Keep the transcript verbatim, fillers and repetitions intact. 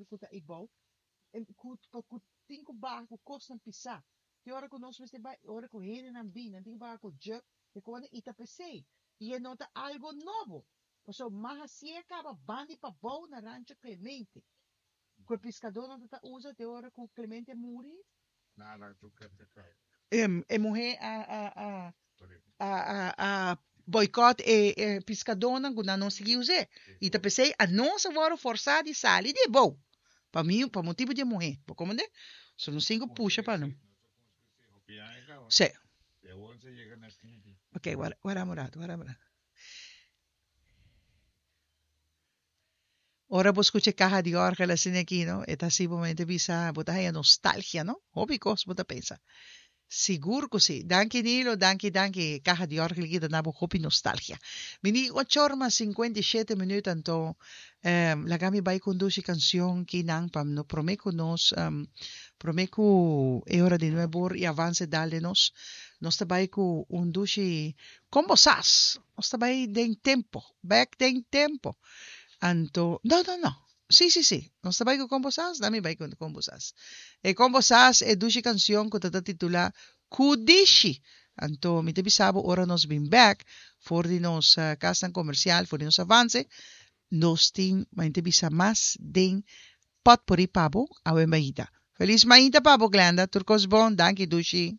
ku ta eibou, ku ku tin ku baha ku kosnan pisá. Te ora ku nos mester bai, ora ku hendenan bin, nan tin ku baha ku jug, e kos i ta p'esei. I e no ta algu nobo. Pasobra m'a hasié kaba bandi pabou na Rancho Clemente. Ku e piskadónan ta usa te ora ku Clemente muri. E muhé a a a a a a boycott e e piskadónan ku nan no sigui us'é. I ta p'esei anos a wòrdu forsá di sali di e bou. Pa mi, pa motibu di e muhé. Bo komprendé? So nos tin ku pusha pa nan. Sí. Ok, wara wara un ratu, wara un ratu. Ora bo skucha e kaha di òrgel asina aki, no, e ta hasi bo mente bisa, bo ta haña nostalgia, no? Hopi kos bo ta pensa. Sigur ku si. Danki Nilo, danki, danki. E kaha di òrgel aki ta na bo hopi nostalgia. Mi di ocho or mas sinkuenta i shete minüt, anto laga mi bai ku un dushi kansion kinan pa no promé ku nos promé ku e ora di nuebe or i avanse dal den nos. Nos ta bai ku un dushi Kon bo sas? Nos ta bai den tempo, bèk den tempo. Anto, no, no, no. Sí, sí, sí. Nos ta bai ku Kon bo sas? Dami bai ku Kon bo sas. E Kon bo sas, e dushi kansion ku ta ta titulá Kudishi. Anto, mi ta bisa bo ora nos bin bèk for di nos kasnan komersial, for di nos avanse, nos tin, mi ta bisa mas den pòtpori pa bo awe mainta. Felis mainta pa bo, Glenda. Tur kos bon. Danki, dushi.